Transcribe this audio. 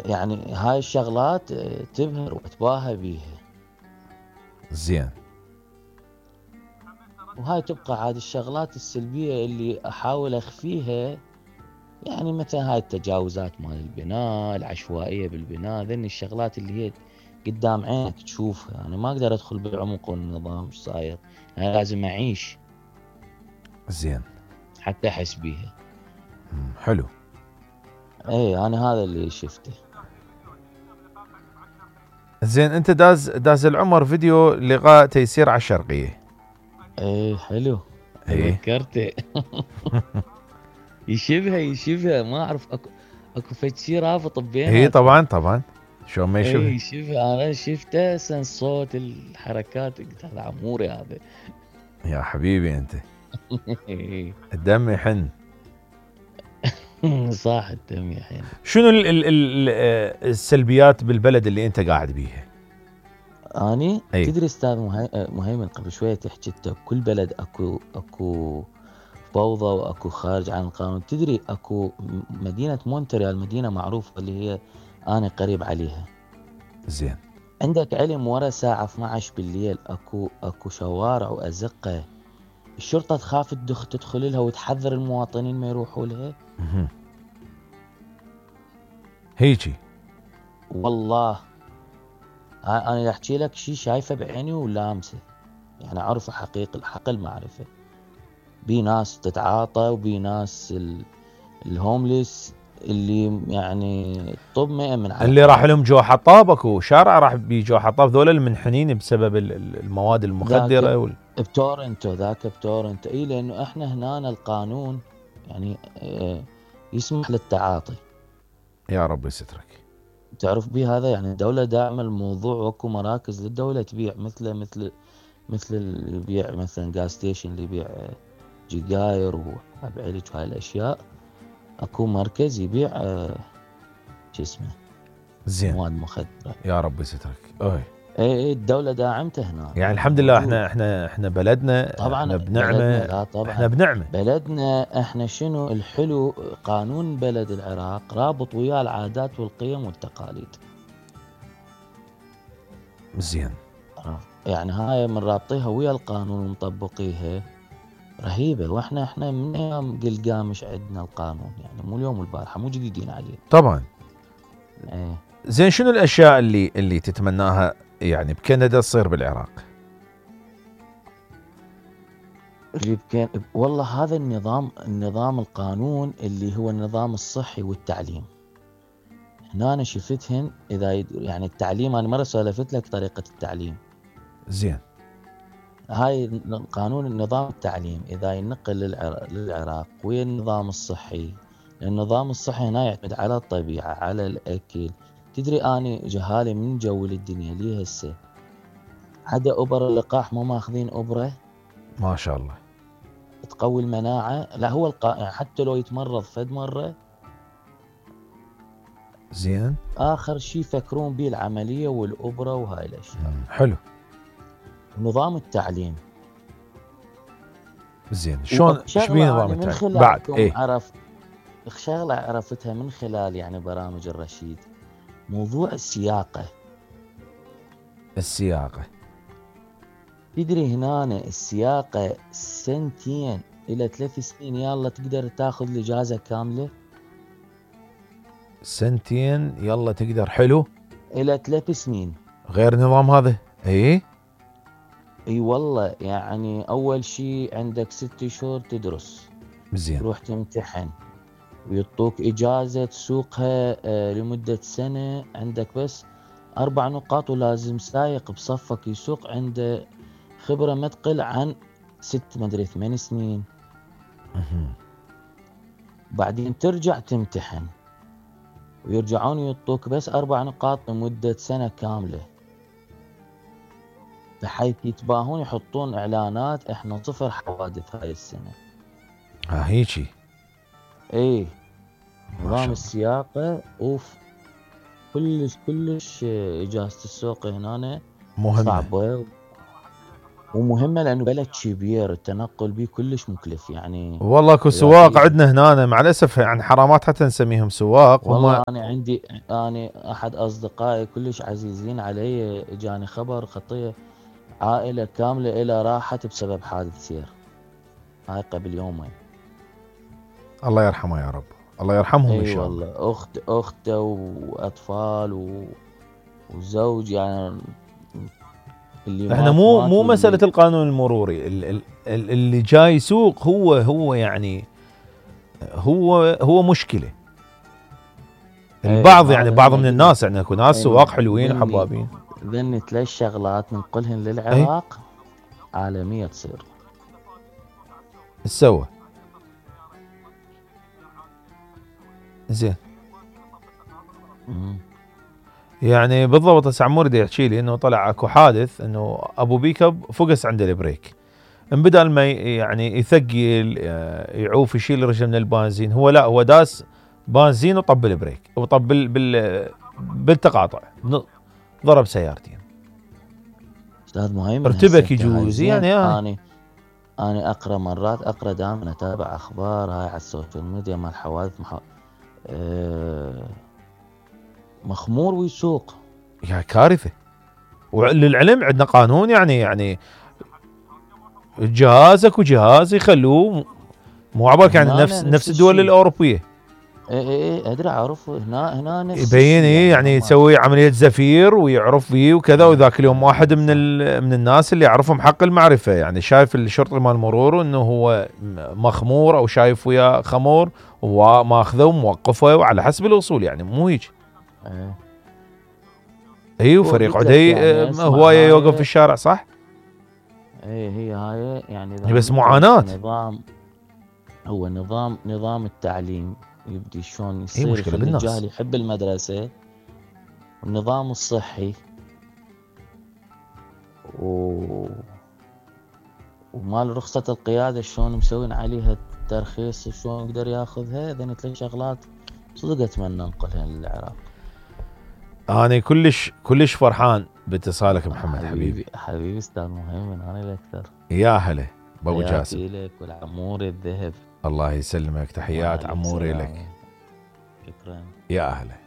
يعني هاي الشغلات تبهر واتباهى بيها. زين. وهاي تبقى عاد الشغلات السلبية اللي احاول اخفيها، يعني مثلا هاي التجاوزات مال البناء، العشوائية بالبناء، ذني الشغلات اللي هي قدام عينك تشوفها. يعني ما اقدر ادخل بعمق النظام ايش صاير، يعني لازم اعيش زين. حتى احس بيها. حلو. ايه انا هذا اللي شفته. زين، انت داز العمر فيديو لغاء تيسير على الشرقية. ايه حلو، ايه. تذكرته. يشبه ما اعرف، اكو فد شي رابط ايه بيناتهم. طبعا شلون ما يشبه. ايه يشبه، انا شفته سن صوت الحركات، قلت هذا عموري هذا. يا حبيبي انت الدم يحن. صح، الدم يحين. شنو ال السلبيات بالبلد اللي انت قاعد بيها؟ اني اي. تدري استاذ مهيمن، قبل شويه تحكي انت بكل بلد اكو فوضى واكو خارج عن القانون. تدري اكو مدينه مونتريال، مدينه معروفه اللي هي انا قريب عليها. زين. عندك علم ورا الساعه 12 بالليل اكو شوارع وازقه الشرطه تخاف تدخل لها وتحذر المواطنين ما يروحوا لها. هيجي. والله انا احكي لك شيء شايفه بعيني ولامسه، يعني اعرف حقيقة الحق المعرفة. بي ناس تتعاطى، وبي ناس الهومليس اللي يعني طب ما من على اللي راح حياته. لهم جو حطاب، اكو شارع راح بيجو حطاب، ذول المنحنين بسبب المواد ذاك المخدرة بتورنتو، ذاك بتورنتو. اي لانه احنا هنا القانون يعني يسمح للتعاطي. يا رب يسترك. تعرف بيه هذا، يعني الدولة داعمة الموضوع، واكو مراكز للدولة تبيع مثل اللي يبيع مثلا جاز ستيشن اللي يبيع جيجاير وابعلج وهاي الاشياء. اكو مركز يبيع شو اسمه زين. مواد مخدرة. يا رب يسترك. اي. اي الدولة داعمته هنا، يعني يعني الحمد لله موجود. احنا بلدنا طبعا احنا بلدنا، بنعمة. لا احنا طبعا بنعمة. بلدنا احنا شنو الحلو، قانون بلد العراق رابط وياه العادات والقيم والتقاليد. زين. يعني هاي من رابطيها ويا القانون ومطبقيها رهيبة. واحنا من ايام قلقامش عندنا القانون، يعني مو اليوم والبارحة، مو جديدين عليه. طبعا. ايه. زين، شنو الاشياء اللي تتمناها يعني بكندا تصير بالعراق؟ اللي كان والله هذا النظام القانون اللي هو النظام الصحي والتعليم. هنا أنا شفتهن إذا يعني التعليم، أنا مرة سولفت لك طريقة التعليم. زين. هاي قانون النظام التعليم إذا ينقل للعراق ويا النظام الصحي. النظام الصحي هنا يعتمد على الطبيعة، على الأكل. تدري أني جهالي من جو الدنيا ليه هسه عدا أبر اللقاح ما ماخذين أبرة ما شاء الله. تقوي المناعة. لا هو يعني حتى لو يتمرض فد مرة، زين. اخر شيء يفكرون به العمليه والابره وهاي الاشياء. حلو. نظام التعليم. زين، شلون ايش بيه وشغله نظام انا من التعليم بعد؟ خلالكم ايه. شغله عرفتها من خلال يعني برامج الرشيد، موضوع السياقه. السياقة. تدري هنا السياقه سنتين الى 3 سنين يلا تقدر تاخذ الاجازه كامله. سنتين يلا تقدر. حلو. الى 3 سنين. غير نظام هذا. ايه. اي والله، يعني اول شيء عندك 6 شهور تدرس، زين. تروح تمتحن، ويعطوك إجازة تسوقها لمدة سنة. عندك بس 4 نقاط، ولازم سايق بصفك يسوق عنده خبرة ما تقل عن 6 مدري 8 سنين. بعدين ترجع تمتحن، ويرجعون يعطوك بس 4 نقاط لمدة سنة كاملة، بحيث يتباهون يحطون إعلانات إحنا 0 حوادث هاي السنة. ها هيجي. إيه. ما نظام شاء الله. السياقة أوف، كلش إجازة السوق هنا مهمة. صعبة. ومهمة لأنه بلد كبير التنقل به كلش مكلف يعني. والله اكو إذا سواق تريد، عندنا هنا مع الاسف يعني حرامات حتى نسميهم سواق هم. والله أنا أحد أصدقائي كلش عزيزين علي جاني خبر خطية، عائلة كاملة إلى راحت بسبب حادث سير، هاي قبل يومين. الله يرحمه يا رب، الله يرحمهم ان اي شاء الله. والله، اخته واطفال وزوج يعني، اللي احنا مات مو مات مو مسألة واللي القانون المروري، اللي جاي يسوق هو يعني هو مشكلة. البعض يعني بعض من الناس يعني اكو ناس سواق حلوين وحبابين. ذني 3 شغلات ننقلهن اي للعراق عالمية تصير. ايش سوى؟ زين يعني بالضبط. هسه عموري دا يحكي لي انه طلع اكو حادث انه ابو بيكب فقس عند البريك، ان بدل ما يعني يثقل يعوف يشيل رجله من البنزين، هو داس بنزين وطب البريك وطب بالتقاطع، ضرب سيارتين. استاذ مهيمن ارتبك يجوز يعني. انا اقرا دائما اتابع اخبار هاي على السوشيال ميديا مال حوادث مخمور ويسوق، يا كارثه. وللعلم عندنا قانون يعني جهازك وجهاز يخلوه مو عبالك يعني نفس الدول الاوروبيه. اي ادري اعرف هنا نفس يبين يعني يسوي عمليه زفير ويعرف فيه وكذا. وذاك اليوم واحد من الناس اللي يعرفهم حق المعرفه يعني شايف الشرطي مال المرور انه هو مخمور او شايف وياه خمور وماخذه وموقفه وعلى حسب الاصول يعني مو هيك. اي وفريق عدي يعني هوايه يوقف في الشارع صح. هي هاي يعني بس معاناه. هو نظام التعليم يبدي شلون يصير مشكلة بالنص. الجاهل يحب المدرسة، والنظام الصحي ومال رخصة القيادة شلون مسوين عليها الترخيص شلون يقدر ياخذها. ذني 3 شغلات صدق اتمنى انقلها للعراق. انا كلش فرحان باتصالك محمد حبيبي استاذ مهيمن، انا الاكثر. يا هلا بابو جاسم. لك والعموري الذهب. الله يسلمك، تحيات عموري لك. شكرا يا اهلا.